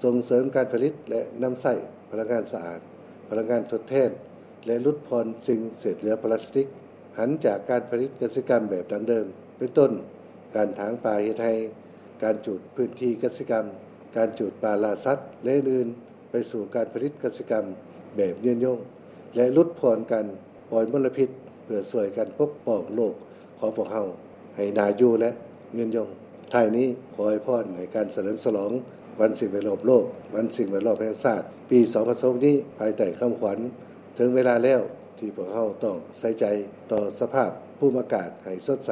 ສົ່ງເສີມການຜະລິດ ແລະ ນຳໃຊ້ພະລັງງານສະອາດ, ພະລັງງານທົດແທນ ແລະ ຫຼຸດຜ່ອນສິ່ງເສດເຫຼືອພລາສຕິກ, ຫັນຈາກການຜະລິດກະສິກຳແບບດັ້ງເດີມ, ເປັນຕົ້ນ ການຖາງປ່າເຮັດໄຮ່, ການຈູດພື້ນທີ່ກະສິກຳ, ການຈູດປ່າລ່າສັດ ແລະ ອື່ນໆ ໄປສູ່ການຜະລິດກະສິກຳແບບຍືນຍົງ ແລະ ຫຼຸດຜ່ອນການປ່ອຍມົນລະພິດ ເພື່ອຊ່ວຍກັນປົກປ້ອງໂລກຂອງພວກເຮົາໃຫ້ໜ້າຢູ່ ແລະ ຍືນຍົງ. ທ້າຍນີ້ ຂໍອວຍພອນໃຫ້ການສະເຫຼີມສະຫຼອງວັນສິ່ງແວດລ້ອມໂລກ, ວັນສິ່ງແວດລ້ອມແຫ່ງຊາດ ປີສອງພັນຊາວຫົກນີ້ ພາຍໃຕ້ຄຳຂວັນ ເຖິງເວລາແລ້ວທີ່ພວກເຮົາຕ້ອງໃສ່ໃຈຕໍ່ສະພາບພູມອາກາດໃຫ້ສົດໃສ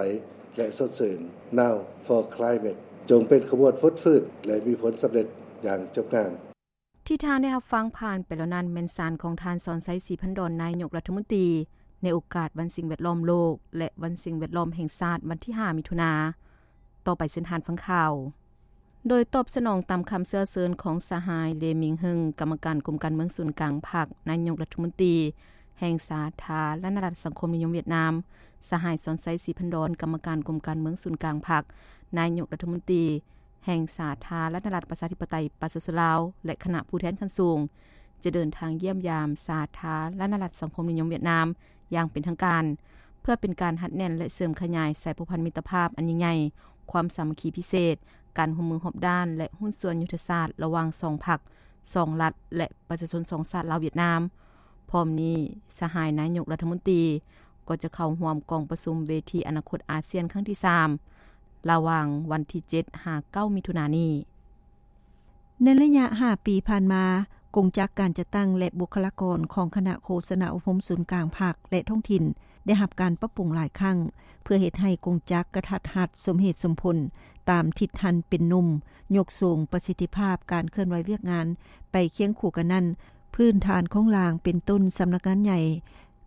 ແລະ ສົດຊື່ນ. Now for Climate ຈົ່ງເປັນຂະບວນຟົດຟື້ນ ແລະ ມີຜົນສຳເລັດຢ່າງຈົບງາມ. ທີ່ທ່ານໄດ້ຮັບຟັງຜ່ານໄປແລ້ວນັ້ນ ແມ່ນສານຂອງທ່ານ ສອນໄຊ ສີພັນດອນ ນາຍົກລັດຖະມົນຕີ ໃນໂອກາດວັນສິ່ງແວດລ້ອມໂລກ ແລະ ວັນສິ່ງແວດລ້ອມແຫ່ງຊາດ ວັນທີຫ້າ ມິຖຸນາ. ຕໍ່ໄປເຊີນທ່ານຟັງຂ່າວ. ໂດຍຕອບສະໜອງຕາມຄຳເຊື້ອເຊີນຂອງສະຫາຍ ເລ ມິງເຮິງ ກຳມະການກົມການເມືອງສູນກາງພັກ, ນາຍົກລັດຖະມົນຕີແຫ່ງສາທາລະນະລັດສັງຄົມນິຍົມຫວຽດນາມ, ສະຫາຍ ສອນໄຊ ສີພັນດອນ ກຳມະການກົມການເມືອງສູນກາງພັກ, ນາຍົກລັດຖະມົນຕີ ແຫ່ງສາທາລະນະລັດປະຊາທິປະໄຕປະຊາຊົນລາວ ແລະ ຄະນະຜູ້ແທນຂັ້ນສູງ ຈະເດີນທາງຢ້ຽມຢາມສາທາລະນະລັດສັງຄົມນິຍົມຫວຽດນາມຢ່າງເປັນທາງການ ເພື່ອເປັນການຮັດແໜ້ນ ແລະ ເສີມຂະຫຍາຍສາຍພົວພັນມິດຕະພາບອັນຍິ່ງໃຫຍ່, ຄວາມສາມັກຄີພິເສດ, ການຮ່ວມມືຮອບດ້ານ ແລະ ຫຸ້ນສ່ວນຍຸດທະສາດລະຫວ່າງສອງພັກ, ສອງລັດ ແລະ ປະຊາຊົນສອງຊາດລາວ-ຫວຽດນາມ. ພ້ອມນີ້, ສະຫາຍນາຍົກລັດຖະມົນຕີ ກໍຈະເຂົ້າຮ່ວມກອງປະຊຸມເວທີອະນາຄົດອາຊຽນຄັ້ງທີສາມ ລະຫວ່າງວັນທີເຈັດຫາເກົ້າ ມິຖຸນານີ້. ໃນໄລຍະຫ້າປີຜ່ານມາ, ກົງຈັກການຈັດຕັ້ງ ແລະ ບຸກຄະລາກອນຂອງຄະນະໂຄສະນາອົບຮົມສູນກາງພັກ ແລະ ທ້ອງຖິ່ນ ໄດ້ຮັບການປັບປຸງຫຼາຍຄັ້ງ ເພື່ອເຮັດໃຫ້ກົງຈັກກະທັດຮັດ, ສົມເຫດສົມຜົນ, ຕາມທິດຫັນເປັນໜຸ່ມ, ຍົກສູງປະສິດທິພາບການເຄື່ອນໄຫວວຽກງານ. ໄປຄຽງຄູ່ກັນນັ້ນ, ພື້ນຖານໂຄງລ່າງເປັນຕົ້ນສຳນັກງານໃຫຍ່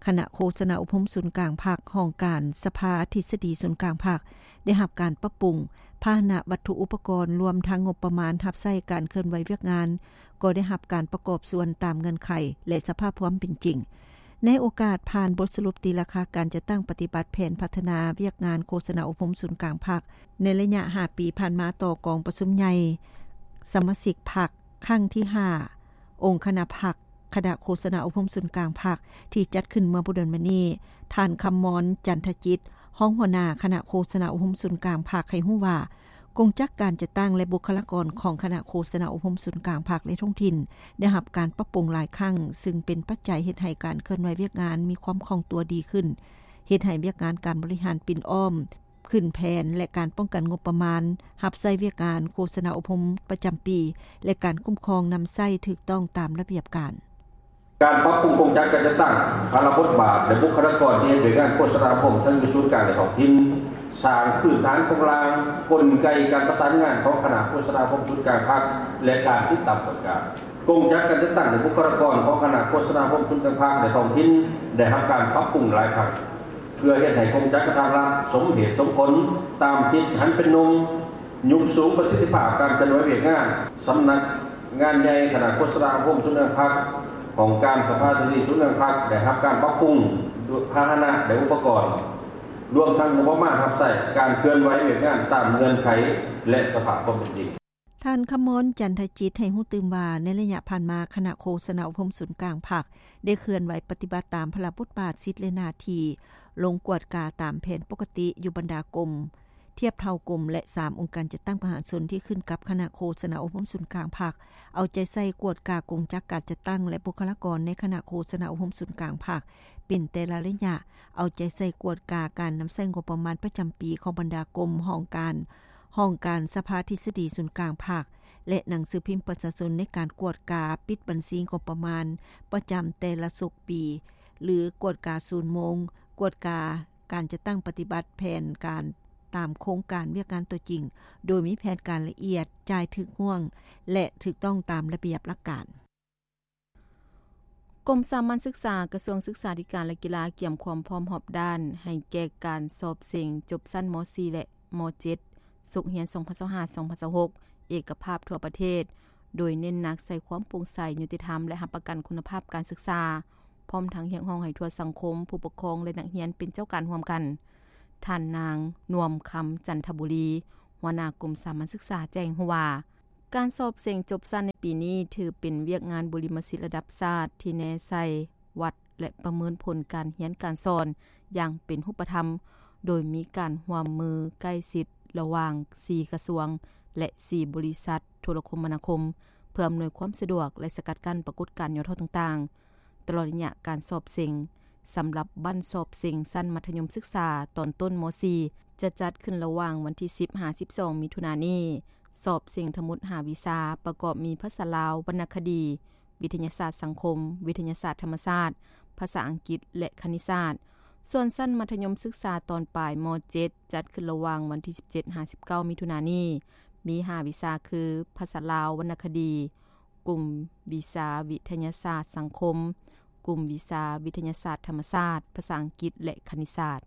ຄະນະໂຄສະນາອົບຮົມສູນກາງພັກ, ຫ້ອງການສະພາທິດສະດີສູນກາງພັກ ໄດ້ຮັບການປັບປຸງ, ພາຫະນະວັດຖຸອຸປະກອນ ລວມທັງງົບປະມານຮັບໃຊ້ການເຄື່ອນໄຫວວຽກງານ ກໍໄດ້ຮັບການປະກອບສ່ວນຕາມເງື່ອນໄຂ ແລະ ສະພາບຄວາມເປັນຈິງ. ໃນໂອກາດຜ່ານບົດສະຫຼຸບຕີລາຄາການຈັດຕັ້ງປະຕິບັດແຜນພັດທະນາວຽກງານໂຄສະນາອົບຮົມສູນກາງພັກ ໃນໄລຍະຫ້າປີຜ່ານມາຕໍ່ກອງປະຊຸມໃຫຍ່ສະມາຊິກພັກ ຄັ້ງທີຫ້າ ອົງຄະນະພັກ ຄະນະໂຄສະນາອົບຮົມສູນກາງພັກ ທີ່ຈັດຂຶ້ນເມື່ອບໍ່ດົນມານີ້, ທ່ານ ຄຳມອນ ຈັນທະຈິດ ຮອງຫົວໜ້າຄະນະໂຄສະນາອົບຮົມສູນກາງພັກ ໃຫ້ຮູ້ວ່າ ກົງຈັກການຈັດຕັ້ງ ແລະ ບຸກຄະລາກອນຂອງຄະນະໂຄສະນາອົບຮົມສູນກາງພັກ ແລະ ທ້ອງຖິ່ນ ໄດ້ຮັບການປັບປຸງຫຼາຍຄັ້ງ, ຊຶ່ງເປັນປັດໄຈເຮັດໃຫ້ການເຄື່ອນໄຫວວຽກງານມີຄວາມຄ່ອງຕົວດີຂຶ້ນ, ເຮັດໃຫ້ວຽກງານການບໍລິຫານປິ່ນອ້ອມ ຂຶ້ນແຜນ ແລະ ການປ້ອງກັນງົບປະມານ ຮັບໃຊ້ວຽກງານໂຄສະນາອົບຮົມປະຈຳປີ ແລະ ການຄຸ້ມຄອງນຳໃຊ້ຖືກຕ້ອງຕາມລະບຽບການ. ການປັບປຸງກົງຈັກການຈັດຕັ້ງ, ພາລະບົດບາດ ແລະ ບຸກຄະລາກອນທີ່ເຮັດວຽກງານໂຄສະນາອົບຮົມ ທັງຢູ່ສູນກາງ ແລະ ທ້ອງຖິ່ນ, ສ້າງພື້ນຖານໂຄງລ່າງ, ກົນໄກການປະສານງານຂອງຄະນະໂຄສະນາອົບຮົມສູນກາງພັກ ແລະ ການຕິດຕາມກວດກາ. ກົງຈັກການຈັດຕັ້ງ ແລະ ບຸກຄະລາກອນຂອງຄະນະໂຄສະນາອົບຮົມສູນກາງພັກ ແລະ ທ້ອງຖິ່ນ ໄດ້ຮັບການປັບປຸງຫຼາຍຄັ້ງ ເພື່ອເຮັດໃຫ້ກົງຈັກກະທັດຮັດ, ສົມເຫດສົມຜົນ, ຕາມທິດຫັນເປັນໜຸ່ມ, ຍົກສູງປະສິດທິພາບການເຄື່ອນໄຫວວຽກງານ. ສຳນັກງານໃຫຍ່ຄະນະໂຄສະນາອົບຮົມສູນກາງພັກ, ຫ້ອງການສະພາທິດສະດີສູນກາງພັກ ໄດ້ຮັບການປັບປຸງດ້ວຍພາຫະນະ ແລະ ອຸປະກອນ, ລວມທັງງົບປະມານຮັບໃຊ້ການເຄື່ອນໄຫວວຽກງານຕາມເງື່ອນໄຂ ແລະ ສະພາບຄວາມເປັນຈິງ. ທ່ານ ຄຳມອນ ຈັນທະຈິດ ໃຫ້ຮູ້ຕື່ມວ່າ ໃນໄລຍະຜ່ານມາ, ຄະນະໂຄສະນາອົບຮົມສູນກາງພັກ ໄດ້ເຄື່ອນໄຫວປະຕິບັດຕາມພາລະບົດບາດ, ສິດ ແລະ ໜ້າທີ່, ລົງກວດກາຕາມແຜນປົກກະຕິຢູ່ບັນດາກົມ, ທຽບເທົ່າກົມ ແລະ ສາມ ອົງການຈັດຕັ້ງປະຊາຊົນທີ່ຂຶ້ນກັບຄະນະໂຄສະນາອົບຮົມສູນກາງພັກ, ເອົາໃຈໃສ່ກວດກາກົງຈັກການຈັດຕັ້ງ ແລະ ບຸກຄະລາກອນໃນຄະນະໂຄສະນາອົບຮົມສູນກາງພັກ ເປັນແຕ່ລະໄລຍະ, ເອົາໃຈໃສ່ກວດກາການນຳໃຊ້ງົບປະມານປະຈຳປີຂອງບັນດາກົມ, ຫ້ອງການ, ຫ້ອງການສະພາທິດສະດີສູນກາງພັກ ແລະ ໜັງສືພິມປະຊາຊົນໃນການກວດກາປິດບັນຊີງົບປະມານປະຈຳແຕ່ລະສົກປີ ຫຼື ກວດກາສູນໂມງ, ກວດກາການຈັດຕັ້ງປະຕິບັດແຜນການຕາມໂຄງການວຽກງານຕົວຈິງ, ໂດຍມີແຜນການລະອຽດ, ຈ່າຍຖືກຫ່ວງ ແລະ ຖືກຕ້ອງຕາມລະບຽບຫຼັກການ. ກົມສາມັນສຶກສາ ກະຊວງສຶກສາທິການ ແລະ ກິລາ ກຽມຄວາມພ້ອມຮອບດ້ານໃຫ້ແກ່ການສອບເສັງຈົບຊັ້ນ ມໍສີ່ ແລະ ມໍເຈັດ ສົກຮຽນ ສອງພັນຊາວຫ້າ ສອງພັນຊາວຫົກ ເອກະພາບທົ່ວປະເທດ, ໂດຍເນັ້ນໜັກໃສ່ຄວາມໂປ່ງໃສ, ຍຸຕິທຳ ແລະ ຮັບປະກັນຄຸນນະພາບການສຶກສາ, ພ້ອມທັງຮຽກຮ້ອງໃຫ້ທົ່ວສັງຄົມ, ຜູ້ປົກຄອງ ແລະ ນັກຮຽນເປັນເຈົ້າການຮ່ວມກັນ. ທ່ານນາງ ນວມຄຳ ຈັນທະບູລີ, ຫົວໜ້າກົມສາມັນສຶກສາ ແຈ້ງຮູ້ວ່າ, ການສອບເສັງຈົບຊັ້ນໃນປີນີ້ ຖືເປັນວຽກງານບຸລິມະສິດລະດັບຊາດ ທີ່ແນໃສ່ວັດ ແລະ ປະເມີນຜົນການຮຽນການສອນຢ່າງເປັນຮູບປະທຳ, ໂດຍມີການຮ່ວມມືໃກ້ຊິດລະຫວ່າງສີ່ກະຊວງ ແລະ ສີ່ບໍລິສັດໂທລະຄົມມະນາຄົມ ເພື່ອອຳນວຍຄວາມສະດວກ ແລະ ສະກັດກັ້ນປາກົດການຫຍໍ້ທໍ້ຕ່າງໆ. ຕະຫຼອດໄລຍະການສອບເສັງ ສຳລັບບັ້ນສອບເສັງຊັ້ນມັດທະຍົມສຶກສາຕອນຕົ້ນ ມ.ສີ່ ຈະຈັດຂຶ້ນລະຫວ່າງວັນທີສິບຫາສິບສອງ ມິຖຸນານີ້. ສອບເສັງທັງໝົດຫ້າວິຊາ ປະກອບມີພາສາລາວ, ວັນນະຄະດີ, ວິທະຍາສາດສັງຄົມ, ວິທະຍາສາດທຳມະຊາດ, ພາສາອັງກິດ ແລະ ຄະນິດສາດ. ສ່ວນຊັ້ນມັດທະຍົມສຶກສາຕອນປາຍ ມ.ເຈັດ ຈັດຂຶ້ນລະຫວ່າງວັນທີສິບເຈັດຫາສິບເກົ້າ ມິຖຸນານີ້ ມີຫ້າວິຊາຄື ພາສາລາວ, ວັນນະຄະດີ, ກຸ່ມວິຊາວິທະຍາສາດສັງຄົມ, ກຸ່ມວິຊາວິທະຍາສາດທຳມະຊາດ, ພາສາອັງກິດ ແລະ ຄະນິດສາດ.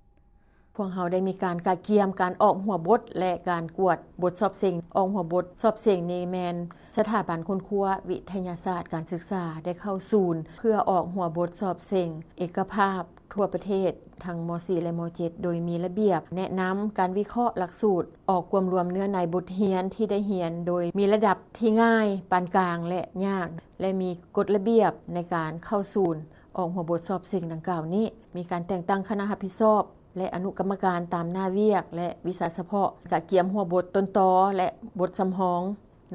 ພວກເຮົາໄດ້ມີການກະກຽມການອອກຫົວບົດ ແລະ ການກວດບົດສອບເສັງ. ອອກຫົວບົດສອບເສັງນີ້ແມ່ນສະຖາບັນຄົ້ນຄວ້າວິທະຍາສາດການສຶກສາໄດ້ເຂົ້າສູນ ເພື່ອອອກຫົວບົດສອບເສັງເອກະພາບທົ່ວປະເທດ ທັງ ມ.ສີ່ ແລະ ມ.ເຈັດ ໂດຍມີລະບຽບແນະນຳການວິເຄາະຫຼັກສູດ, ອອກກວມລວມເນື້ອໃນບົດຮຽນທີ່ໄດ້ຮຽນ ໂດຍມີລະດັບທີ່ງ່າຍ, ປານກາງ ແລະ ຍາກ ແລະ ມີກົດລະບຽບໃນການເຂົ້າສູນອອກຫົວບົດສອບເສັງດັ່ງກ່າວນີ້. ມີການແຕ່ງຕັ້ງຄະນະຮັບຜິດຊອບ ແລະ ອະນຸກຳມະການຕາມໜ້າວຽກ ແລະ ວິຊາສະເພາະ, ກະກຽມຫົວບົດຕົ້ນຕໍ ແລະ ບົດສຳຮອງ.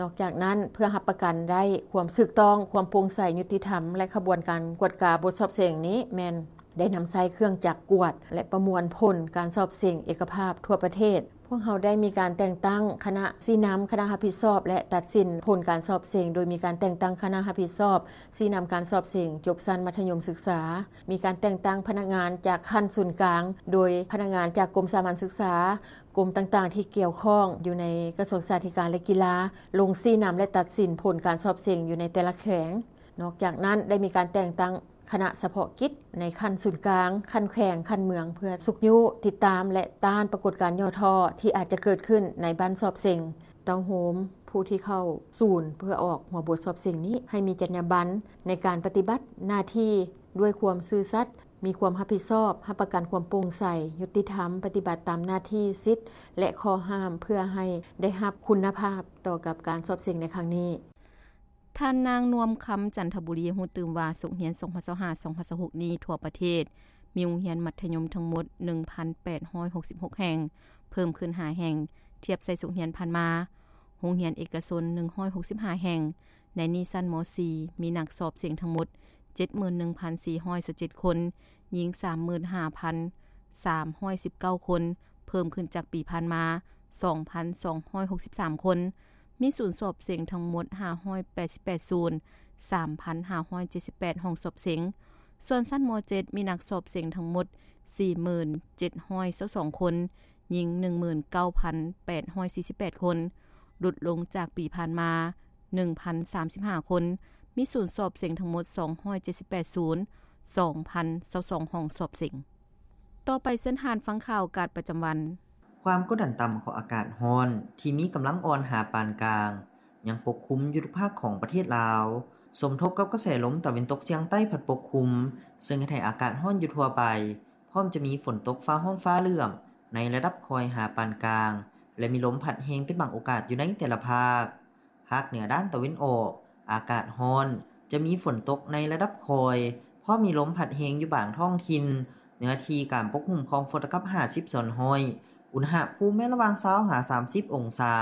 ນອກຈາກນັ້ນ, ເພື່ອຮັບປະກັນໄດ້ຄວາມຖືກຕ້ອງ, ຄວາມໂປ່ງໃສ, ຍຸຕິທຳ ແລະ ຂະບວນການກວດກາບົດສອບເສັງນີ້ ແມ່ນໄດ້ນຳໃຊ້ເຄື່ອງຈັກກວດ ແລະ ປະມວນຜົນການສອບເສັງເອກະພາບທົ່ວປະເທດ. ພວກເຮົາໄດ້ມີການແຕ່ງຕັ້ງຄະນະຊີ້ນຳ, ຄະນະຮັບຜິດຊອບ ແລະ ຕັດສິນຜົນການສອບເສັງ, ໂດຍມີການແຕ່ງຕັ້ງຄະນະຮັບຜິດຊອບ, ຊີ້ນຳການສອບເສັງຈົບຊັ້ນມັດທະຍົມສຶກສາ, ມີການແຕ່ງຕັ້ງພະນັກງານຈາກຂັ້ນສູນກາງ ໂດຍພະນັກງານຈາກກົມສາມັນສຶກສາ, ກົມຕ່າງໆທີ່ກ່ຽວຂ້ອງຢູ່ໃນກະຊວງສຶກສາທິການ ແລະ ກິລາ ລົງຊີ້ນຳ ແລະ ຕັດສິນຜົນການສອບເສັງຢູ່ໃນແຕ່ລະແຂວງ. ນອກຈາກນັ້ນ, ໄດ້ມີການແຕ່ງຕັ້ງຄະນະສະເພາະກິດໃນຂັ້ນສູນກາງ, ຂັ້ນແຂວງ, ຂັ້ນເມືອງ ເພື່ອຊຸກຍູ້, ຕິດຕາມ ແລະ ຕ້ານປາກົດການຫຍໍ້ທໍ້ທີ່ອາດຈະເກີດຂຶ້ນໃນບັ້ນສອບເສັງ. ເຕົ້າໂຮມຜູ້ທີ່ເຂົ້າສູນເພື່ອອອກຫົວບົດສອບເສັງນີ້ ໃຫ້ມີຈັນຍາບັນໃນການປະຕິບັດໜ້າທີ່ດ້ວຍຄວາມຊື່ສັດ, ມີຄວາມຮັບຜິດຊອບ, ຮັບປະກັນຄວາມໂປ່ງໃສ, ຍຸຕິທຳ, ປະຕິບັດຕາມໜ້າທີ່, ສິດ ແລະ ຂໍ້ຫ້າມ ເພື່ອໃຫ້ໄດ້ຮັບຄຸນນະພາບຕໍ່ກັບການສອບເສັງໃນຄັ້ງນີ້. ທ່ານນາງ ນວມຄຳ ຈັນທະບູລີ ຮູ້ຕື່ມວ່າ ສົກຮຽນສອງພັນຊາວຫ້າ ສອງພັນຊາວຫົກນີ້ ທົ່ວປະເທດ ມີໂຮງຮຽນມັດທະຍົມທັງໝົດ ໜຶ່ງພັນແປດຮ້ອຍຫົກສິບຫົກແຫ່ງ, ເພີ່ມຂຶ້ນຫ້າແຫ່ງ ທຽບໃສ່ສົກຮຽນຜ່ານມາ, ໂຮງຮຽນເອກະຊົນ ໜຶ່ງຮ້ອຍຫົກສິບຫ້າແຫ່ງ. ໃນນີ້ຊັ້ນ ມ.ສີ່ ມີນັກສອບເສັງທັງໝົດ ເຈັດໝື່ນໜຶ່ງພັນສີ່ຮ້ອຍຊາວເຈັດຄົນ, ຍິງ ສາມໝື່ນຫ້າພັນສາມຮ້ອຍສິບເກົ້າຄົນ, ເພີ່ມຂຶ້ນຈາກປີຜ່ານມາ ສອງພັນສອງຮ້ອຍຫົກສິບສາມຄົນ. ມີສູນສອບເສັງທັງໝົດ ຫ້າຮ້ອຍແປດສິບແປດສູນ, ສາມພັນຫ້າຮ້ອຍເຈັດສິບແປດຫ້ອງສອບເສັງ. ສ່ວນຊັ້ນ ມ.ເຈັດ ມີນັກສອບເສັງທັງໝົດ ສີ່ໝື່ນເຈັດຮ້ອຍຊາວສອງຄົນ, ຍິງ ໜຶ່ງໝື່ນເກົ້າພັນແປດຮ້ອຍສີ່ສິບແປດຄົນ, ຫຼຸດລົງຈາກປີຜ່ານມາ ໜຶ່ງພັນສາມສິບຫ້າຄົນ, ມີສູນສອບເສັງທັງໝົດ ສອງຮ້ອຍເຈັດສິບແປດສູນ, ສອງພັນຊາວສອງຫ້ອງສອບເສັງ. ຕໍ່ໄປເຊີນທ່ານຟັງຂ່າວອາກາດປະຈຳວັນ. ຄວາມກົດດັນຕ່ຳຂອງອາກາດຮ້ອນທີ່ມີກຳລັງອ່ອນຫາປານກາງ ຍັງປົກຄຸມຢູ່ທຸກພາກຂອງປະເທດລາວ, ສົມທົບກັບກະແສລົມຕາເວັນຕົກສຽງໃຕ້ພັດປົກຄຸມ, ເຊິ່ງເຮັດໃຫ້ອາກາດຮ້ອນຢູ່ທົ່ວໄປ, ພ້ອມຈະມີຝົນຕົກຟ້າຮ້ອງຟ້າເຫຼື້ອມໃນລະດັບຄ່ອຍຫາປານກາງ ແລະ ມີລົມພັດແຮງເປັນບາງໂອກາດຢູ່ໃນແຕ່ລະພາກ. ພາກເໜືອດ້ານຕາເວັນອອກ ອາກາດຮ້ອນ, ຈະມີຝົນຕົກໃນລະດັບຄ່ອຍ, ພ້ອມມີລົມພັດແຮງຢູ່ບາງທ້ອງຖິ່ນ, ເນື້ອທີ່ການປົກຄຸມຂອງຝົນລະກັບຫ້າສິບສ່ວນຮ້ອຍ, ອຸນຫະພູມແມ່ນລະຫວ່າງຊາວຫາສາມສິບອົງສາ.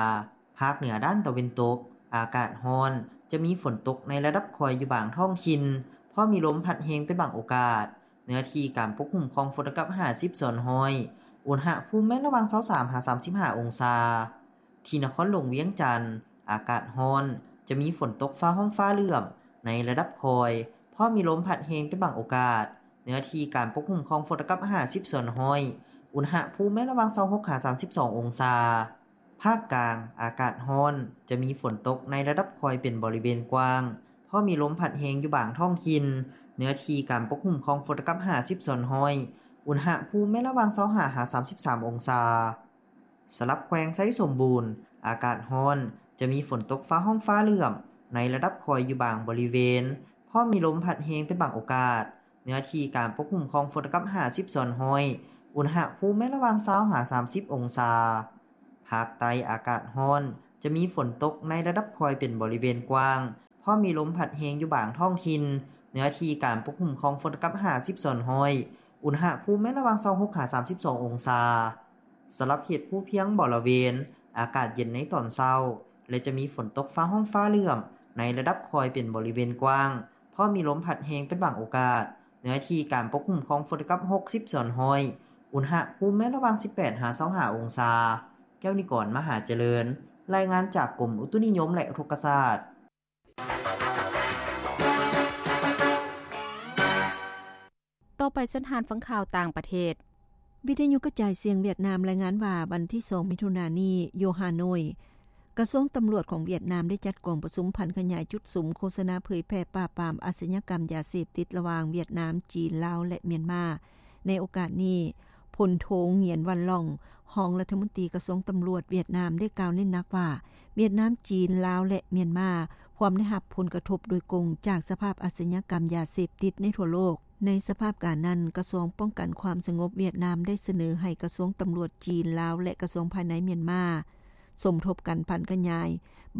ພາກເໜືອດ້ານຕາເວັນຕົກ ອາກາດຮ້ອນ, ຈະມີຝົນຕົກໃນລະດັບຄ່ອຍຢູ່ບາງທ້ອງຖິ່ນ, ພ້ອມມີລົມພັດແຮງເປັນບາງໂອກາດ, ເນື້ອທີ່ການປົກຄຸມຂອງຝົນລະກັບຫ້າສິບສ່ວນຮ້ອຍ, ອຸນຫະພູມແມ່ນລະຫວ່າງຊາວສາມຫາສາມສິບຫ້າອົງສາ. ທີ່ນະຄອນຫຼວງວຽງຈັນ ອາກາດຮ້ອນ, ຈະມີຝົນຕົກຟ້າຮ້ອງຟ້າເຫຼື້ອມໃນລະດັບຄ່ອຍ, ພ້ອມມີລົມພັດແຮງເປັນບາງໂອກາດ, ເນື້ອທີ່ການປົກຄຸມຂອງຝົນລະກັບຫ້າສິບສ່ວນຮ້ອຍ, ອຸນຫະພູມແມ່ນລະຫວ່າງຊາວຫົກຫາສາມສິບສອງອົງສາ. ພາກກາງ ອາກາດຮ້ອນ, ຈະມີຝົນຕົກໃນລະດັບຄ່ອຍເປັນບໍລິເວນກວ້າງ, ພ້ອມມີລົມພັດແຮງຢູ່ບາງທ້ອງຖິ່ນ, ເນື້ອທີ່ການປົກຄຸມຂອງຝົນລະກັບຫ້າສິບສ່ວນຮ້ອຍ, ອຸນຫະພູມແມ່ນລະຫວ່າງຊາວຫ້າຫາສາມສິບສາມອົງສາ. ສຳລັບແຂວງໄຊສົມບູນ ອາກາດຮ້ອນ, ຈະມີຝົນຕົກຟ້າຮ້ອງຟ້າເຫຼື້ອມໃນລະດັບຄ່ອຍຢູ່ບາງບໍລິເວນ, ພ້ອມມີລົມພັດແຮງເປັນບາງໂອກາດ, ເນື້ອທີ່ການປົກຄຸມຂອງຝົນລະກັບຫ້າສິບສ່ວນຮ້ອຍ, ອຸນຫະພູມແມ່ນລະຫວ່າງຊາວຫາສາມສິບອົງສາ. ພາກໃຕ້ ອາກາດຮ້ອນ, ຈະມີຝົນຕົກໃນລະດັບຄ່ອຍເປັນບໍລິເວນກວ້າງ, ພ້ອມມີລົມພັດແຮງຢູ່ບາງທ້ອງຖິ່ນ, ເນື້ອທີ່ການປົກຄຸມຂອງຝົນກັບຫ້າສິບສ່ວນຮ້ອຍ, ອຸນຫະພູມແມ່ນລະຫວ່າງຊາວຫົກຫາສາມສິບສອງອົງສາ. ສຳລັບເຂດພູພຽງບໍລະເວນ, ອາກາດເຢັນໃນຕອນເຊົ້າ ແລະ ຈະມີຝົນຕົກຟ້າຮ້ອງຟ້າເຫຼື້ອມໃນລະດັບຄ່ອຍເປັນບໍລິເວນກວ້າງ, ພ້ອມມີລົມພັດແຮງເປັນບາງໂອກາດ, ເນື້ອທີ່ການປົກຄຸມຂອງຝົນກັບຫົກສິບສ່ວນຮ້ອຍ, ອຸນຫະພູມແມ່ນລະຫວ່າງສິບແປດຫາຊາວຫ້າອົງສາ. ແກ້ວນິກອນ ມະຫາຈະເລີນ, ລາຍງານຈາກກົມອຸຕຸນິຍົມ ແລະ ອຸທົກກະສາດ. ຕໍ່ໄປເຊີນທ່ານຟັງຂ່າວຕ່າງປະເທດ. ວິທະຍຸກະຈາຍສຽງຫວຽດນາມລາຍງານວ່າ ວັນທີສອງ ມິຖຸນານີ້ ຢູ່ຮ່າໂນ້ຍ, ກະຊວງຕຳຫຼວດຂອງຫວຽດນາມໄດ້ຈັດກອງປະຊຸມຜັນຂະຫຍາຍຈຸດສຸມໂຄສະນາເຜີຍແຜ່ປາບປາມອາຊະຍາກຳຢາເສບຕິດລະຫວ່າງຫວຽດນາມ, ຈີນ, ລາວ ແລະ ມຽນມາ. ໃນໂອກາດນີ້, ພົນໂທ ຫງຽນ ວັນ ລອງ, ຮອງລັດຖະມົນຕີກະຊວງຕຳຫຼວດຫວຽດນາມ ໄດ້ກ່າວເນັ້ນໜັກວ່າ ຫວຽດນາມ, ຈີນ, ລາວ ແລະ ມຽນມາ ພວມໄດ້ຮັບຜົນກະທົບໂດຍກົງຈາກສະພາບອາຊະຍາກຳຢາເສບຕິດໃນທົ່ວໂລກ. ໃນສະພາບການນັ້ນ, ກະຊວງປ້ອງກັນຄວາມສະຫງົບຫວຽດນາມໄດ້ສະເໜີໃຫ້ກະຊວງຕຳຫຼວດຈີນ, ລາວ ແລະ ກະຊວງພາຍໃນມຽນມາ ສົມທົບກັນຜັນຂະຫຍາຍ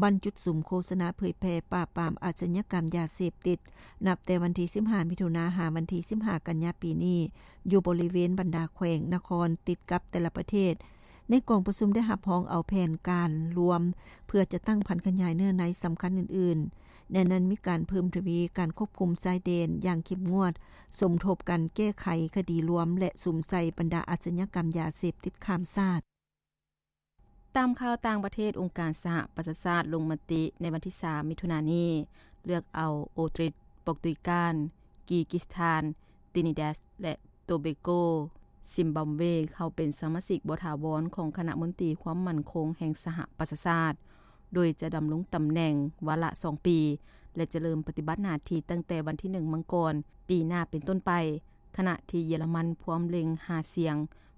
ບັ້ນຈຸດສຸມໂຄສະນາເຜີຍແຜ່ປາບປາມອາຊະຍາກຳຢາເສບຕິດ ນັບແຕ່ວັນທີສິບຫ້າ ມິຖຸນາ ຫາວັນທີສິບຫ້າ ກັນຍາປີນີ້ ຢູ່ບໍລິເວນບັນດາແຂວງນະຄອນຕິດກັບແຕ່ລະປະເທດ. ໃນກອງປະຊຸມໄດ້ຮັບຮອງເອົາແຜນການລວມ ເພື່ອຈັດຕັ້ງຜັນຂະຫຍາຍເນື້ອໃນສຳຄັນອື່ນໆ, ໃນນັ້ນມີການເພີ່ມທະວີການຄວບຄຸມຊາຍແດນຢ່າງເຂັ້ມງວດ, ສົມທົບກັນແກ້ໄຂຄະດີລວມ ແລະ ສຸມໃສ່ບັນດາອາຊະຍາກຳຢາເສບຕິດຂ້າມຊາດ. ຕາມຂ່າວຕ່າງປະເທດ, ອົງການສະຫະປະຊາຊາດລົງມະຕິໃນວັນທີສາມ ມິຖຸນານີ້ ເລືອກເອົາໂອຕຣິດ, ປອກຕຸຍການ, ກີກິສຖານ, ຕີນີແດດ ແລະ ໂຕເບໂກ, ຊິມບາບເວ ເຂົ້າເປັນສະມາຊິກບໍ່ຖາວອນຂອງຄະນະມົນຕີຄວາມໝັ້ນຄົງແຫ່ງສະຫະປະຊາຊາດ, ໂດຍຈະດຳລົງຕຳແໜ່ງວາລະສອງປີ ແລະ ຈະເລີ່ມປະຕິບັດໜ້າທີ່ຕັ້ງແຕ່ວັນທີໜຶ່ງ ມັງກອນ ປີໜ້າເປັນຕົ້ນໄປ, ຂະນະທີ່ເຢຍລະມັນພວມເລັ່ງຫາສຽງ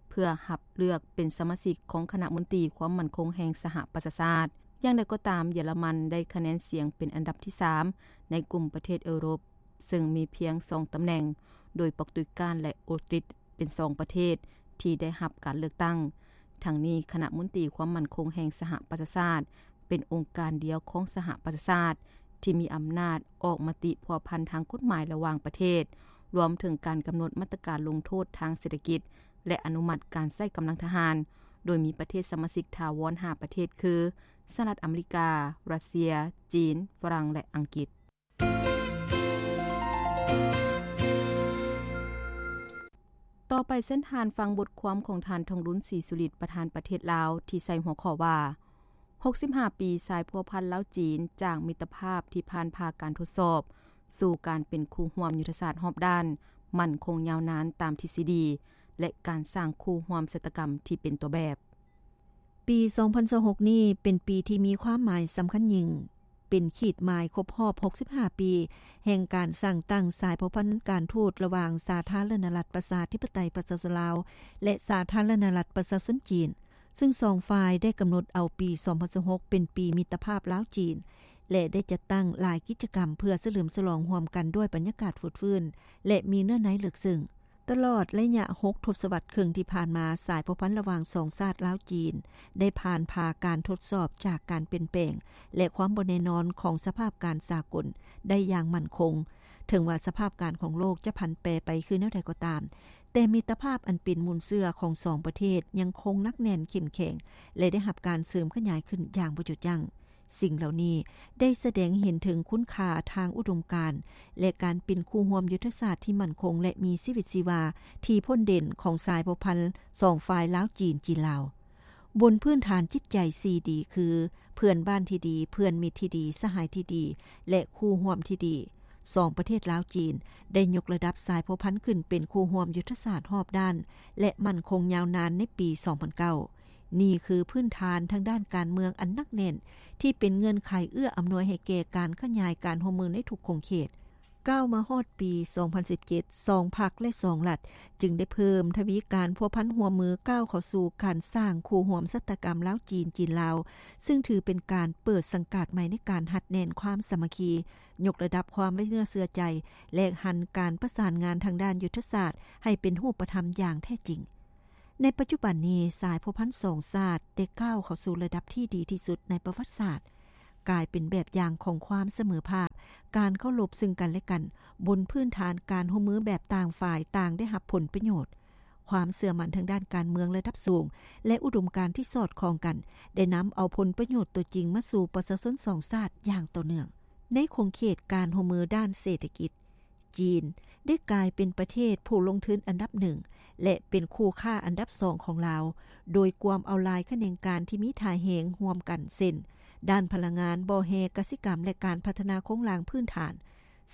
ເພື່ອຮັບເລືອກເປັນສະມາຊິກຂອງຄະນະມົນຕີຄວາມໝັ້ນຄົງແຫ່ງສະຫະປະຊາຊາດ. ຢ່າງໃດກໍຕາມ, ເຢຍລະມັນໄດ້ຄະແນນສຽງເປັນອັນດັບທີສາມໃນກຸ່ມປະເທດເອີຣົບ, ເຊິ່ງມີພຽງສອງຕຳແໜ່ງ, ໂດຍປອກຕຸຍການ ແລະ ໂອຕຣິດ ເປັນສອງປະເທດທີ່ໄດ້ຮັບການເລືອກຕັ້ງ. ທັງນີ້, ຄະນະມົນຕີຄວາມໝັ້ນຄົງແຫ່ງສະຫະປະຊາຊາດ ເປັນອົງການດຽວຂອງສະຫະປະຊາຊາດທີ່ມີອຳນາດອອກມະຕິພົວພັນທາງກົດໝາຍລະຫວ່າງປະເທດ, ລວມເຖິງການກຳນົດມາດຕະການລົງໂທດທາງເສດຖະກິດ ແລະ ອະນຸມັດການໃຊ້ກຳລັງທະຫານ, ໂດຍມີປະເທດສະມາຊິກຖາວອນຫ້າປະເທດຄື ສະຫະລັດອາເມລິກາ, ຣັດເຊຍ, ຈີນ, ຝຣັ່ງ ແລະ ອັງກິດ. ຕໍ່ໄປເຊີນທ່ານຟັງບົດຄວາມຂອງທ່ານ ທອງລຸນ ສີສຸລິດ ປະທານປະເທດລາວ ທີ່ໃສ່ຫົວຂໍ້ວ່າ ຫົກສິບຫ້າປີສາຍພົວພັນລາວ-ຈີນ ຈາກມິດຕະພາບທີ່ຜ່ານຜ່າການທົດສອບ ສູ່ການເປັນຄູ່ຮ່ວມຍຸດທະສາດຮອບດ້ານ ໝັ້ນຄົງຍາວນານຕາມທິດສະດີ ແລະ ການສ້າງຄູ່ຮ່ວມຊະຕາກຳທີ່ເປັນຕົວແບບ. ປີສອງພັນຊາວຫົກນີ້ເປັນປີທີ່ມີຄວາມໝາຍສຳຄັນຍິ່ງ, ເປັນຂີດໝາຍຄົບຮອບຫົກສິບຫ້າປີ ແຫ່ງການສ້າງຕັ້ງສາຍພົວພັນການທູດລະຫວ່າງສາທາລະນະລັດປະຊາທິປະໄຕປະຊາຊົນລາວ ແລະ ສາທາລະນະລັດປະຊາຊົນຈີນ, ຊຶ່ງສອງຝ່າຍໄດ້ກຳນົດເອົາປີສອງພັນຊາວຫົກເປັນປີມິດຕະພາບລາວ-ຈີນ ແລະ ໄດ້ຈັດຕັ້ງຫຼາຍກິດຈະກຳເພື່ອສະເຫຼີມສະຫຼອງຮ່ວມກັນດ້ວຍບັນຍາກາດຟົດຟື້ນ ແລະ ມີເນື້ອໃນເລິກເຊິ່ງ. ຕະຫຼອດໄລຍະຫົກທົດສະວັດເຄິ່ງທີ່ຜ່ານມາ, ສາຍພົວພັນລະຫວ່າງສອງຊາດລາວ-ຈີນ ໄດ້ຜ່ານຜ່າການທົດສອບຈາກການປ່ຽນແປງ ແລະ ຄວາມບໍ່ແນ່ນອນຂອງສະພາບການສາກົນໄດ້ຢ່າງໝັ້ນຄົງ. ເຖິງວ່າສະພາບການຂອງໂລກຈະຜັນແປໄປຄືແນວໃດກໍຕາມ, ແຕ່ມິດຕະພາບອັນເປັນມູນເຊື້ອຂອງສອງປະເທດຍັງຄົງໜັກແໜ້ນເຂັ້ມແຂງ ແລະ ໄດ້ຮັບການເສີມຂະຫຍາຍຂຶ້ນຢ່າງບໍ່ຢຸດຢັ້ງ. ສິ່ງເຫຼົ່ານີ້ໄດ້ສະແດງໃຫ້ເຫັນເຖິງຄຸນຄ່າທາງອຸດົມການ ແລະ ການເປັນຄູ່ຮ່ວມຍຸດທະສາດທີ່ໝັ້ນຄົງ ແລະ ມີຊີວິດຊີວາທີ່ພົ້ນເດັ່ນຂອງສາຍພົວພັນສອງຝ່າຍລາວ-ຈີນ, ຈີນ-ລາວ ບົນພື້ນຖານຈິດໃຈສີ່ດີ ຄື ເພື່ອນບ້ານທີ່ດີ, ເພື່ອນມິດທີ່ດີ, ສະຫາຍທີ່ດີ ແລະ ຄູ່ຮ່ວມທີ່ດີ. ສອງປະເທດລາວ-ຈີນ ໄດ້ຍົກລະດັບສາຍພົວພັນຂຶ້ນເປັນຄູ່ຮ່ວມຍຸດທະສາດຮອບດ້ານ ແລະ ໝັ້ນຄົງຍາວນານໃນປີສອງພັນເກົ້າ. ນີ້ຄືພື້ນຖານທາງດ້ານການເມືອງອັນໜັກແໜ້ນ ທີ່ເປັນເງື່ອນໄຂເອື້ອອຳນວຍໃຫ້ແກ່ການຂະຫຍາຍການຮ່ວມມືໃນທຸກຂົງເຂດ. ກ້າວມາຮອດປີສອງພັນສິບເຈັດ ສອງພັກ ແລະ ສອງລັດ ຈຶ່ງໄດ້ເພີ່ມທະວີການພົວພັນຮ່ວມມື ກ້າວເຂົ້າສູ່ການສ້າງຄູ່ຮ່ວມຊະຕາກຳລາວ-ຈີນ, ຈີນ-ລາວ ຊຶ່ງຖືເປັນການເປີດສັງກາດໃໝ່ໃນການຮັດແໜ້ນຄວາມສາມັກຄີ, ຍົກລະດັບຄວາມໄວ້ເນື້ອເຊື່ອໃຈ ແລະ ຫັນການປະສານງານທາງດ້ານຍຸດທະສາດໃຫ້ເປັນຮູບປະທຳຢ່າງແທ້ຈິງ. ໃນປັດຈຸບັນນີ້ ສາຍພົວພັນສອງຊາດໄດ້ກ້າວເຂົ້າສູ່ລະດັບທີ່ດີທີ່ສຸດໃນປະຫວັດສາດ, ກາຍເປັນແບບຢ່າງຂອງຄວາມສະເໝີພາບ, ການເຄົາລົບເຊິ່ງກັນແລະກັນ, ບົນພື້ນຖານການຮ່ວມມືແບບຕ່າງຝ່າຍຕ່າງໄດ້ຮັບຜົນປະໂຫຍດ. ຄວາມເຊື່ອໝັ້ນທາງດ້ານການເມືອງລະດັບສູງ ແລະ ອຸດົມການທີ່ສອດຄ່ອງກັນ ໄດ້ນຳເອົາຜົນປະໂຫຍດຕົວຈິງມາສູ່ປະຊາຊົນສອງຊາດຢ່າງຕໍ່ເນື່ອງ. ໃນຂົງເຂດການຮ່ວມມືດ້ານເສດຖະກິດ, ຈີນໄດ້ກາຍເປັນປະເທດຜູ້ລົງທຶນອັນດັບໜຶ່ງ ແລະ ເປັນຄູ່ຄ້າອັນດັບສອງຂອງລາວ, ໂດຍກວມເອົາຫຼາຍຂະແໜງການທີ່ມີທ່າແຮງຮ່ວມກັນ ເຊັ່ນ ດ້ານພະລັງງານ, ບໍ່ແຮ່, ກະສິກຳ ແລະ ການພັດທະນາໂຄງລ່າງພື້ນຖານ.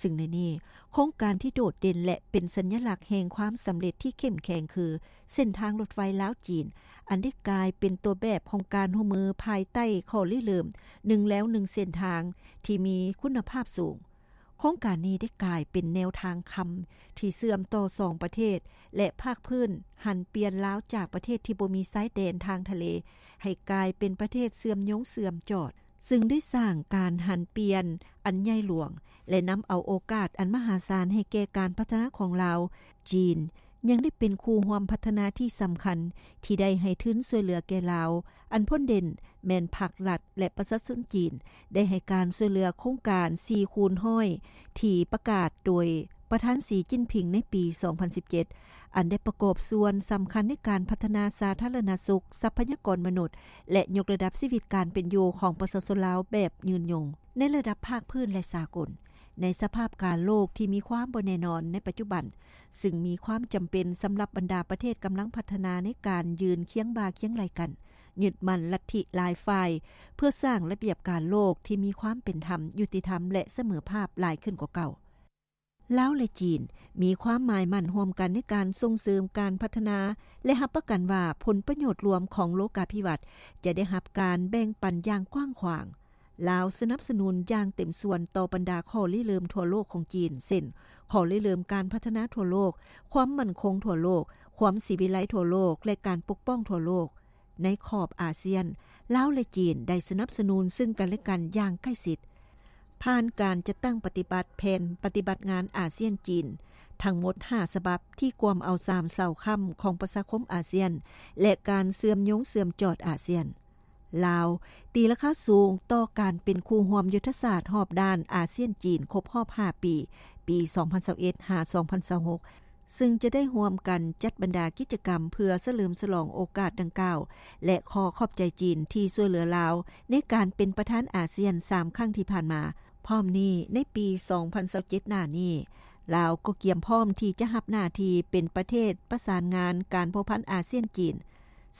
ຊຶ່ງໃນນີ້, ໂຄງການທີ່ໂດດເດັ່ນ ແລະ ເປັນສັນຍະລັກແຫ່ງຄວາມສຳເລັດທີ່ເຂັ້ມແຂງຄື ເສັ້ນທາງລົດໄຟລາວ-ຈີນ, ອັນໄດ້ກາຍເປັນຕົວແບບຂອງການຮ່ວມມືພາຍໃຕ້ຂໍ້ລິເລີ່ມ ໜຶ່ງແລວໜຶ່ງເສັ້ນທາງ ທີ່ມີຄຸນນະພາບສູງ. ໂຄງການນີ້ໄດ້ກາຍເປັນແນວທາງຄຳທີ່ເຊື່ອມຕໍ່ສອງປະເທດ ແລະ ພາກພື້ນຫັນປ່ຽນລາວຈາກປະເທດທີ່ບໍ່ມີຊາຍແດນທາງທະເລ ໃຫ້ກາຍເປັນປະເທດເຊື່ອມໂຍງເຊື່ອມຈອດ, ຊຶ່ງໄດ້ສ້າງການຫັນປ່ຽນອັນໃຫຍ່ຫຼວງ ແລະ ນຳເອົາໂອກາດອັນມະຫາສານໃຫ້ແກ່ການພັດທະນາຂອງລາວ. ຈີນຍັງໄດ້ເປັນຄູ່ຮ່ວມພັດທະນາທີ່ສຳຄັນທີ່ໄດ້ໃຫ້ທຶນຊ່ວຍເຫຼືອແກ່ລາວ, ອັນພົ້ນເດັ່ນແມ່ນພາກລັດ ແລະ ປະຊາຊົນຈີນ ໄດ້ໃຫ້ການຊ່ວຍເຫຼືອໂຄງການສີ່ຄູນຮ້ອຍ ທີ່ປະກາດໂດຍປະທານ ສີ ຈິ້ນຜິງ ໃນປີສອງພັນສິບເຈັດ ອັນໄດ້ປະກອບສ່ວນສຳຄັນໃນການພັດທະນາສາທາລະນະສຸກ, ຊັບພະຍາກອນມະນຸດ ແລະ ຍົກລະດັບຊີວິດການເປັນຢູ່ຂອງປະຊາຊົນລາວແບບຍືນຍົງ. ໃນລະດັບພາກພື້ນ ແລະ ສາກົນ, ໃນສະພາບການໂລກທີ່ມີຄວາມບໍ່ແນ່ນອນໃນປັດຈຸບັນ, ຊຶ່ງມີຄວາມຈຳເປັນສຳລັບບັນດາປະເທດກຳລັງພັດທະນາໃນການຢືນຄຽງບ່າຄຽງໄຫຼ່ກັນ, ຍຶດໝັ້ນລັດທິຫຼາຍຝ່າຍ ເພື່ອສ້າງລະບຽບການໂລກທີ່ມີຄວາມເປັນທຳ, ຍຸຕິທຳ ແລະ ສະເໝີພາບຫຼາຍຂຶ້ນກວ່າເກົ່າ. ລາວ ແລະ ຈີນ ມີຄວາມໝາຍໝັ້ນຮ່ວມກັນໃນການສົ່ງເສີມການພັດທະນາ ແລະ ຮັບປະກັນວ່າຜົນປະໂຫຍດລວມຂອງໂລກາພິວັດຈະໄດ້ຮັບການແບ່ງປັນຢ່າງກວ້າງຂວາງ. ລາວສະໜັບສະໜູນຢ່າງເຕັມສ່ວນຕໍ່ບັນດາຂໍ້ລິເລີ່ມທົ່ວໂລກຂອງຈີນ ເຊັ່ນ ຂໍ້ລິເລີ່ມການພັດທະນາທົ່ວໂລກ, ຄວາມໝັ້ນຄົງທົ່ວໂລກ, ຄວາມສີວິໄລທົ່ວໂລກ ແລະ ການປົກປ້ອງທົ່ວໂລກ. ໃນຂອບອາຊຽນ, ລາວ ແລະ ຈີນ ໄດ້ສະໜັບສະໜູນເຊິ່ງກັນແລະກັນຢ່າງໃກ້ຊິດ, ຜ່ານການຈັດຕັ້ງປະຕິບັດແຜນປະຕິບັດງານອາຊຽນ-ຈີນ ທັງໝົດຫ້າສະບັບ ທີ່ກວມເອົາສາມເສົາຄ້ຳຂອງປະຊາຄົມອາຊຽນ ແລະ ການເຊື່ອມໂຍງເຊື່ອມຈອດອາຊຽນ. ລາວຕີລາຄາສູງຕໍ່ການເປັນຄູ່ຮ່ວມຍຸດທະສາດຮອບດ້ານອາຊຽນ-ຈີນ ຄົບຮອບຫ້າປີ, ປີສອງພັນຊາວເອັດ ຫາ ສອງພັນຊາວຫົກ ຊຶ່ງຈະໄດ້ຮ່ວມກັນຈັດບັນດາກິດຈະກຳເພື່ອສະເຫຼີມສະຫຼອງໂອກາດດັ່ງກ່າວ ແລະ ຂໍຂອບໃຈຈີນທີ່ຊ່ວຍເຫຼືອລາວໃນການເປັນປະທານອາຊຽນສາມຄັ້ງທີ່ຜ່ານມາ. ພ້ອມນີ້, ໃນປີສອງພັນຊາວເຈັດໜ້ານີ້, ລາວກໍກຽມພ້ອມທີ່ຈະຮັບໜ້າທີ່ເປັນປະເທດປະສານງານການພົວພັນອາຊຽນ-ຈີນ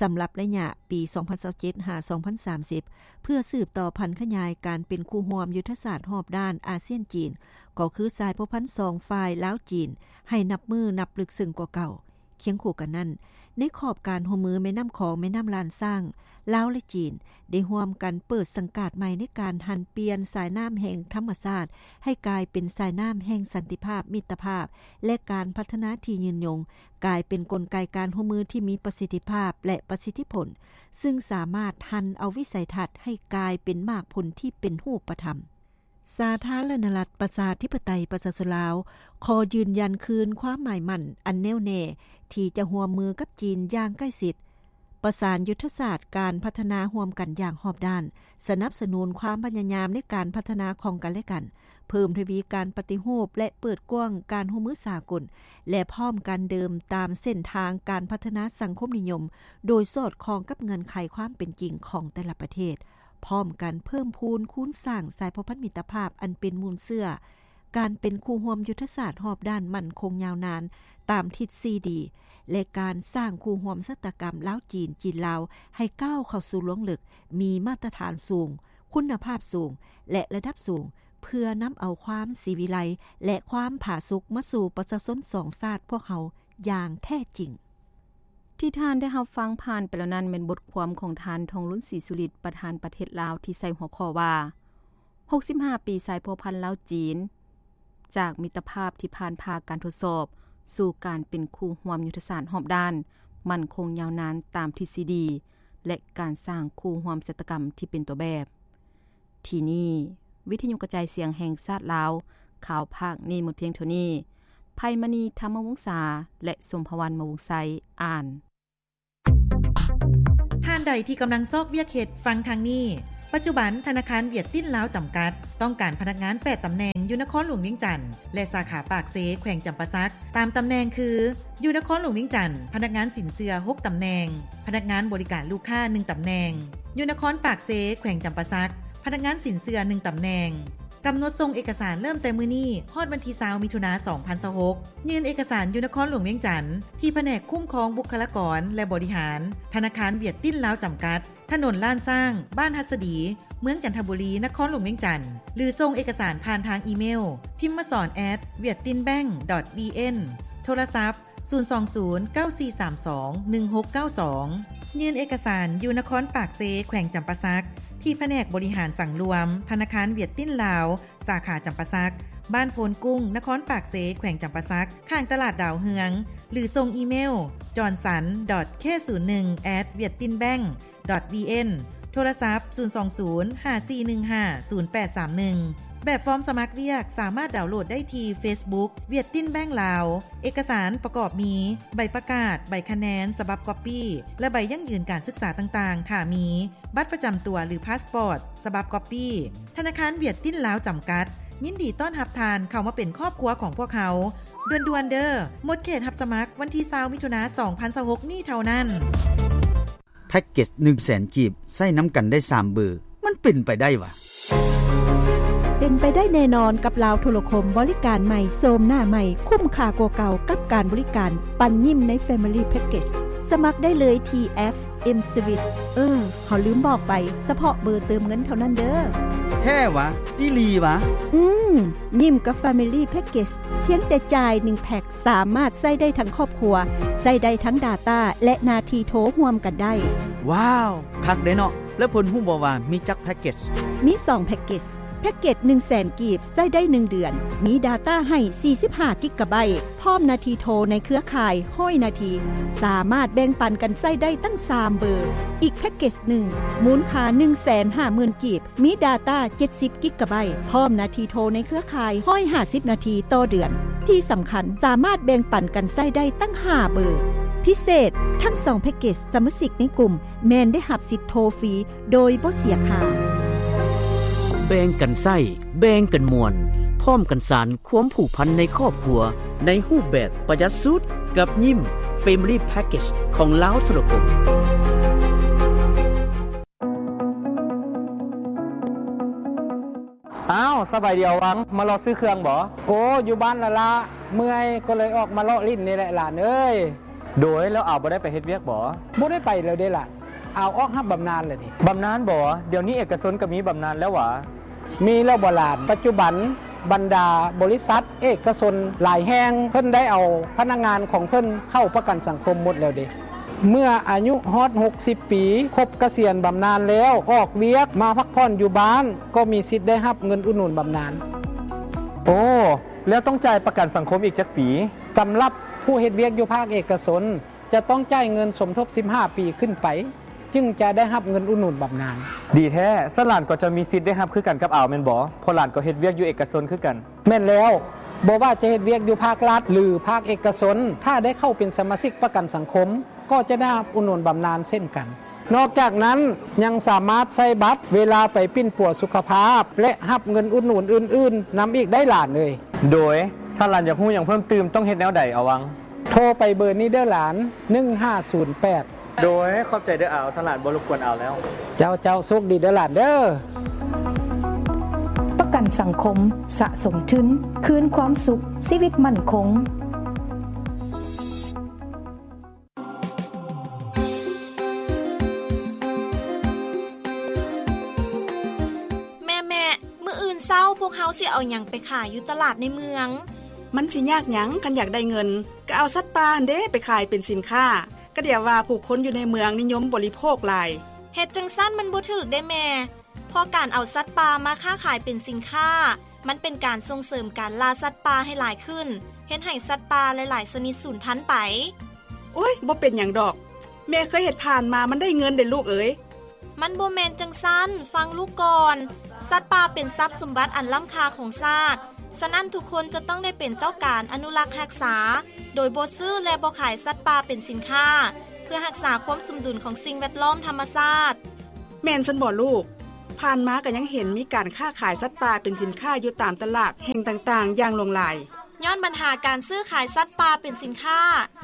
ສຳລັບໄລຍະປີສອງພັນຊາວເຈັດ ຫາ ສອງພັນສາມສິບ ເພື່ອສືບຕໍ່ຜັນຂະຫຍາຍການເປັນຄູ່ຮ່ວມຍຸດທະສາດຮອບດ້ານອາຊຽນ-ຈີນ ກໍຄືສາຍພົວພັນສອງຝ່າຍລາວ-ຈີນ ໃຫ້ນັບມື້ນັບເລິກເຊິ່ງກວ່າເກົ່າ. ຄຽງຄູ່ກັນນັ້ນ, ໃນຂອບການຮ່ວມມືແມ່ນ້ຳຂອງ-ແມ່ນ້ຳລ້ານຊ້າງ, ລາວ ແລະ ຈີນ ໄດ້ຮ່ວມກັນເປີດສັງກາດໃໝ່ໃນການຫັນປ່ຽນສາຍນ້ຳແຫ່ງທຳມະຊາດ ໃຫ້ກາຍເປັນສາຍນ້ຳແຫ່ງສັນຕິພາບ, ມິດຕະພາບ ແລະ ການພັດທະນາທີ່ຍືນຍົງ, ກາຍເປັນກົນໄກການຮ່ວມມືທີ່ມີປະສິດທິພາບ ແລະ ປະສິດທິຜົນ, ຊຶ່ງສາມາດຫັນເອົາວິໄສທັດໃຫ້ກາຍເປັນໝາກຜົນທີ່ເປັນຮູບປະທຳ. ສາທາລະນະລັດ ປະຊາທິປະໄຕ ປະຊາຊົນລາວ ຂໍຢືນຢັນຄືນຄວາມໝາຍໝັ້ນອັນແນ່ວແນ່ທີ່ຈະຮ່ວມມືກັບຈີນຢ່າງໃກ້ຊິດ, ປະສານຍຸດທະສາດການພັດທະນາຮ່ວມກັນຢ່າງຮອບດ້ານ, ສະໜັບສະໜູນຄວາມພະຍາຍາມໃນການພັດທະນາຂອງກັນແລະກັນ, ເພີ່ມທະວີການປະຕິຮູບ ແລະ ເປີດກວ້າງການຮ່ວມມືສາກົນ, ແລະ ພ້ອມກັນເດີນຕາມເສັ້ນທາງການພັດທະນາສັງຄົມນິຍົມ ໂດຍສອດຄ່ອງກັບເງື່ອນໄຂຄວາມເປັນຈິງຂອງແຕ່ລະປະເທດ. ພ້ອມກັນເພີ່ມພູນຄູນສ້າງສາຍພົວພັນມິດຕະພາບອັນເປັນມູນເຊື້ອ, ການເປັນຄູ່ຮ່ວມຍຸດທະສາດຮອບດ້ານໝັ້ນຄົງຍາວນານຕາມທິດສີ່ດີ ແລະ ການສ້າງຄູ່ຮ່ວມຊະຕາກຳລາວ-ຈີນ, ຈີນ-ລາວ ໃຫ້ກ້າວເຂົ້າສູ່ລວງເລິກ, ມີມາດຕະຖານສູງ, ຄຸນນະພາບສູງ ແລະ ລະດັບສູງ, ເພື່ອນຳເອົາຄວາມສີວິໄລ ແລະ ຄວາມຜາສຸກມາສູ່ປະຊາຊົນສອງຊາດພວກເຮົາຢ່າງແທ້ຈິງ. ທີ່ທ່ານໄດ້ຮັບຟັງຜ່ານໄປແລ້ວນັ້ນ ແມ່ນບົດຄວາມຂອງທ່ານ ທອງລຸນ ສີສຸລິດ ປະທານປະເທດລາວ ທີ່ໃສ່ຫົວຂໍ້ວ່າ ຫົກສິບຫ້າປີສາຍພົວພັນລາວ-ຈີນ ຈາກມິດຕະພາບທີ່ຜ່ານຜ່າການທົດສອບ ສູ່ການເປັນຄູ່ຮ່ວມຍຸດທະສາດຮອບດ້ານ ໝັ້ນຄົງຍາວນານຕາມທິດສີ່ດີ ແລະ ການສ້າງຄູ່ຮ່ວມຊະຕາກຳທີ່ເປັນຕົວແບບ. ທີ່ນີ້ ວິທະຍຸກະຈາຍສຽງແຫ່ງຊາດລາວ, ຂ່າວພາກນີ້ໝົດພຽງເທົ່ານີ້. ໄພມະນີ ທຳມະວົງສາ ແລະ ສົມພະວັນ ມະວົງໄຊ ອ່ານ. ໃຜທີ່ກຳລັງຊອກວຽກເຮັດ ຟັງທາງນີ້. ປັດຈຸບັນ ທະນາຄານຫວຽດຕິນລາວຈຳກັດ ຕ້ອງການພະນັກງານແປດຕຳແໜ່ງ ຢູ່ນະຄອນຫຼວງວຽງຈັນ ແລະ ສາຂາປາກເຊ ແຂວງຈຳປາສັກ. ຕາມຕຳແໜ່ງຄື ຢູ່ນະຄອນຫຼວງວຽງຈັນ ພະນັກງານສິນເຊື່ອຫົກຕຳແໜ່ງ, ພະນັກງານບໍລິການລູກຄ້າໜຶ່ງຕຳແໜ່ງ. ຢູ່ນະຄອນປາກເຊ ແຂວງຈຳປາສັກ ພະນັກງານສິນເຊື່ອໜຶ່ງຕຳແໜ່ງ. ກຳນົດສົ່ງເອກະສານເລີ່ມແຕ່ມື້ນີ້ ຮອດວັນທີຊາວ ມິຖຸນາ ສອງພັນຊາວຫົກ. ຍື່ນເອກະສານຢູ່ນະຄອນຫຼວງວຽງຈັນ ທີ່ພະແນກຄຸ້ມຄອງບຸກຄະລາກອນ ແລະ ບໍລິຫານ ທະນາຄານຫວຽດຕິນລາວຈຳກັດ, ຖະໜົນລ້ານຊ້າງ, ບ້ານຫັດສະດີ, ເມືອງຈັນທະບູລີ, ນະຄອນຫຼວງວຽງຈັນ ຫຼື ສົ່ງເອກະສານຜ່ານທາງອີເມວ ພິມມະສອນ ແອັດ ຫວຽດຕິນແບັງ ດອດ ບີເອັນ, ໂທລະສັບ ສູນສອງສູນ ເກົ້າສີ່ສາມສອງ ໜຶ່ງຫົກເກົ້າສອງ. ຍື່ນເອກະສານຢູ່ນະຄອນປາກເຊ ແຂວງຈຳປາສັກ ທີ່ພະແນກບໍລິຫານສັງລວມ ທະນາຄານຫວຽດຕິນລາວ ສາຂາຈຳປາສັກ, ບ້ານໂພນກຸ້ງ, ນະຄອນປາກເຊ, ແຂວງຈຳປາສັກ, ຂ້າງຕະຫຼາດດາວເຮືອງ ຫຼື ສົ່ງອີເມວ ຈອນສັນ ດອດ ເຄ ສູນໜຶ່ງ ແອັດ ຫວຽດຕິນແບັງ ດອດ ບີເອັນ, ໂທລະສັບ ສູນສອງສູນ ຫ້າສີ່ໜຶ່ງຫ້າ ສູນແປດສາມໜຶ່ງ. ແບບຟອມສະໝັກວຽກສາມາດດາວໂຫຼດໄດ້ທີ່ເຟສບຸກ ຫວຽດຕິນແບັງລາວ. ເອກະສານປະກອບມີ ໃບປະກາດ, ໃບຄະແນນສະບັບກັອບປີ້ ແລະ ໃບຢັ້ງຢືນການສຶກສາຕ່າງໆ ຖ້າມີ, ບັດປະຈຳຕົວ ຫຼື ພາສປອດສະບັບກັອບປີ້. ທະນາຄານຫວຽດຕິນລາວຈຳກັດ ຍິນດີຕ້ອນຮັບທ່ານເຂົ້າມາເປັນຄອບຄົວຂອງພວກເຮົາ. ດ່ວນໆເດີ້, ໝົດເຂດຮັບສະໝັກວັນທີຊາວ ມິຖຸນາ ສອງພັນຊາວຫົກນີ້ເທົ່ານັ້ນ. ແພັກເກັດໜຶ່ງແສນກີບ ໃຊ້ນຳກັນໄດ້ສາມເບີ ມັນເປັນໄປໄດ້ຫວາ? ເປັນໄປໄດ້ແນ່ນອນກັບລາວໂທລະຄົມ ບໍລິການໃໝ່ ໂສມໜ້າໃໝ່ ຄຸ້ມຄ່າກວ່າເກົ່າກັບການບໍລິການ ປັນຍິ້ມໃນ Family Package. ສະໝັກໄດ້ເລີຍທີ່ແອັບ M-Swiss. ເອີ ເຮົາລືມບອກໄປ, ສະເພາະເບີເຕີມເງິນເທົ່ານັ້ນເດີ້. ແທ້ຫວາ? ອີ່ຫຼີຫວາ? ອືມ, ຍິ້ມກັບ Family Package ພຽງແຕ່ຈ່າຍໜຶ່ງແພັກ ສາມາດໃຊ້ໄດ້ທັງຄອບຄົວ, ໃຊ້ໄດ້ທັງ data ແລະ ໜ້າທີ່ໂທຮ່ວມກັນໄດ້. ວ້າວ, ຄັກເດ້ເນາະ. ແລ້ວເພິ່ນຮູ້ບໍ່ວ່າມີຈັກແພັກເກັດ? ມີສອງແພັກເກັດ. ແພັກເກັດໜຶ່ງແສນກີບ ໃຊ້ໄດ້ໜຶ່ງເດືອນ, ມີ data ໃຫ້ສີ່ສິບຫ້າກິກກະໄບ, ພ້ອມໜ້າທີ່ໂທໃນເຄືອຂ່າຍຮ້ອຍນາທີ, ສາມາດແບ່ງປັນກັນໃຊ້ໄດ້ຕັ້ງສາມເບີ. ອີກແພັກເກັດໜຶ່ງ ມູນຄ່າໜຶ່ງແສນຫ້າໝື່ນກີບ, ມີ data ເຈັດສິບກິກກະໄບ, ພ້ອມໜ້າທີ່ໂທໃນເຄືອຂ່າຍຮ້ອຍຫ້າສິບນາທີຕໍ່ເດືອນ. ທີ່ສຳຄັນ, ສາມາດແບ່ງປັນກັນໃຊ້ໄດ້ຕັ້ງຫ້າເບີ. ພິເສດ, ທັງສອງແພັກເກັດ ສະມາຊິກໃນກຸ່ມແມ່ນໄດ້ຮັບສິດໂທຟຣີໂດຍບໍ່ເສຍຄ່າ. ແບ່ງກັນໃຊ້, ແບ່ງກັນມ່ວນ, ພ້ອມກັນສານຄວາມຜູກພັນໃນຄອບຄົວ ໃນຮູບແບບປະຢັດສຸດ ກັບຍິ້ມ Family Package ຂອງລາວໂທລະຄົມ. ອ້າວ, ສະບາຍດີອາວັງ, ມາເລາະຊື້ເຄື່ອງບໍ? ໂອ້, ຢູ່ບ້ານລະລະ, ເມື່ອຍກໍເລີຍອອກມາເລາະຫຼິ້ນນີ້ແຫຼະຫຼານເອີຍ. ໂດຍ, ແລ້ວອາວບໍ່ໄດ້ໄປເຮັດວຽກບໍ? ບໍ່ໄດ້ໄປແລ້ວເດ້ຫຼານ, ອາວອອກຮັບບຳນານແລ້ວເດ້. ບຳນານບໍ? ດຽວນີ້ເອກະຊົນກໍມີບຳນານແລ້ວຫວາ? ມີແລ້ວບໍຫຼານ? ປັດຈຸບັນບັນດາບໍລິສັດເອກະຊົນຫຼາຍແຫ່ງ ເພິ່ນໄດ້ເອົາພະນັກງານຂອງເພິ່ນເຂົ້າປະກັນສັງຄົມໝົດແລ້ວເດ້. ເມື່ອອາຍຸຮອດຫົກສິບປີ, ຄົບກະສຽນບຳນານແລ້ວ, ອອກວຽກມາພັກຜ່ອນຢູ່ບ້ານ, ກໍມີສິດໄດ້ຮັບເງິນອຸດໜູນບຳນານ. ໂອ້, ແລ້ວຕ້ອງຈ່າຍປະກັນສັງຄົມອີກຈັກປີ? ສຳລັບຜູ້ເຮັດວຽກຢູ່ພາກເອກະຊົນ, ຈະຕ້ອງຈ່າຍເງິນສົມທົບສິບຫ້າປີຂຶ້ນໄປ, ຈຶ່ງຈະໄດ້ຮັບເງິນອຸດໜູນບຳນານ. ດີແທ້, ຊັ້ນຫຼານກໍຈະມີສິດໄດ້ຮັບຄືກັນກັບອາວແມ່ນບໍ່? ເພາະຫຼານກໍເຮັດວຽກຢູ່ເອກະຊົນຄືກັນ. ແມ່ນແລ້ວ, ບໍ່ວ່າຈະເຮັດວຽກຢູ່ພາກລັດ ຫຼື ພາກເອກະຊົນ, ຖ້າໄດ້ເຂົ້າເປັນສະມາຊິກປະກັນສັງຄົມ, ກໍຈະໄດ້ຮັບອຸດໜູນບຳນານເຊັ່ນກັນ. ນອກຈາກນັ້ນ, ຍັງສາມາດໃຊ້ບັດເວລາໄປປິ່ນປົວສຸຂະພາບ ແລະ ຮັບເງິນອຸດໜູນອື່ນໆນຳອີກໄດ້ຫຼານເອີຍ. ໂດຍ, ຖ້າຫຼານຢາກຮູ້ຫຍັງເພີ່ມຕື່ມ, ຕ້ອງເຮັດແນວໃດອາວັງ? ໂທໄປເບີນີ້ເດີ້ຫຼານ, ໜຶ່ງຫ້າສູນແປດ. ໂດຍ, ຂອບໃຈເດີ້ອາວ, ຊັ້ນຫຼານບໍ່ລົບກວນອາວແລ້ວ. ເຈົ້າ, ເຈົ້າ, ໂຊກດີເດີ້ຫຼານເດີ້. ປະກັນສັງຄົມ, ສະສົມທຶນ, ຄືນຄວາມສຸກ, ຊີວິດໝັ້ນຄົງ. ແມ່ໆ, ມື້ອື່ນເຊົ້າພວກເຮົາຊິເອົາຫຍັງໄປຂາຍຢູ່ຕະຫຼາດໃນເມືອງ? ມັນຊິຍາກຫຍັງ, ຄັນຢາກໄດ້ເງິນ, ກໍເອົາສັດປ່າຫັ້ນເດ້ໄປຂາຍເປັນສິນຄ້າ. ກະດຽວວ່າຜູ້ຄົນຢູ່ໃນເມືອງນິຍົມບໍລິໂພກຫຼາຍ. ເຮັດຈັ່ງຊັ້ນມັນບໍ່ຖືກເດ້ແມ່, ເພາະການເອົາສັດປ່າມາຄ້າຂາຍເປັນສິນຄ້າ, ມັນເປັນການສົ່ງເສີມການລ່າສັດປ່າໃຫ້ຫຼາຍຂຶ້ນ, ເຮັດໃຫ້ສັດປ່າຫຼາຍໆຊະນິດສູນພັນໄປ. ໂອ້ຍ, ບໍ່ເປັນຫຍັງດອກ. ແມ່ເຄີຍເຮັດຜ່ານມາ, ມັນໄດ້ເງິນເດ້ລູກເອີຍ. ມັນບໍ່ແມ່ນຈັ່ງຊັ້ນ, ຟັງລູກກ່ອນ. ສັດປ່າເປັນຊັບສົມບັດອັນລ້ຳຄ່າຂອງຊາດ, ສະນັ້ນທຸກຄົນຈະຕ້ອງໄດ້ເປັນເຈົ້າການອະນຸລັກຮັກສາ, ໂດຍບໍ່ຊື້ ແລະ ບໍ່ຂາຍສັດປ່າເປັນສິນຄ້າ. ພື່ອຮັກສາຄວາມສົມດຸນຂອງສິ່ງແວດລ້ອມທຳມະຊາດ. ແມ່ນຊັ້ນບໍ່ລູກ? ຜ່ານມາກໍຍັງເຫັນມີການຄ້າຂາຍສັດປ່າເປັນສິນຄ້າຢູ່ຕາມຕະຫຼາດແຫ່ງຕ່າງໆຢ່າງຫຼວງຫຼາຍ. ຍ້ອນບັນຫາການຊື້ຂາຍສັດປ່າເປັນສິນຄ້າ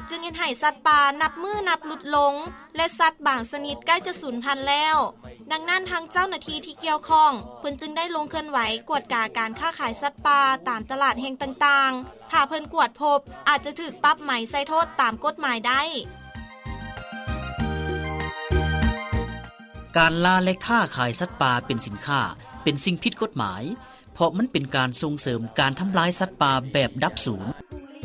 ຈຶ່ງເຮັດໃຫ້ສັດປ່ານັບມື້ນັບຫຼຸດລົງ ແລະ ສັດບາງຊະນິດໃກ້ຈະສູນພັນແລ້ວ. ດັ່ງນັ້ນ ທາງເຈົ້າໜ້າທີ່ທີ່ກ່ຽວຂ້ອງ ເພິ່ນຈຶ່ງໄດ້ລົງເຄື່ອນໄຫວກວດກາການຄ້າຂາຍສັດປ່າຕາມຕະຫຼາດແຫ່ງຕ່າງໆ. ຖ້າເພິ່ນກວດພົບ ອາດຈະຖືກປັບໃໝໃສ່ໂທດຕາມກົດໝາຍໄດ້. ການລ່າ ແລະ ຄ້າຂາຍສັດປ່າເປັນສິນຄ້າ ເປັນສິ່ງຜິດກົດໝາຍ ເພາະມັນເປັນການສົ່ງເສີມການທຳລາຍສັດປ່າແບບດັບສູນ.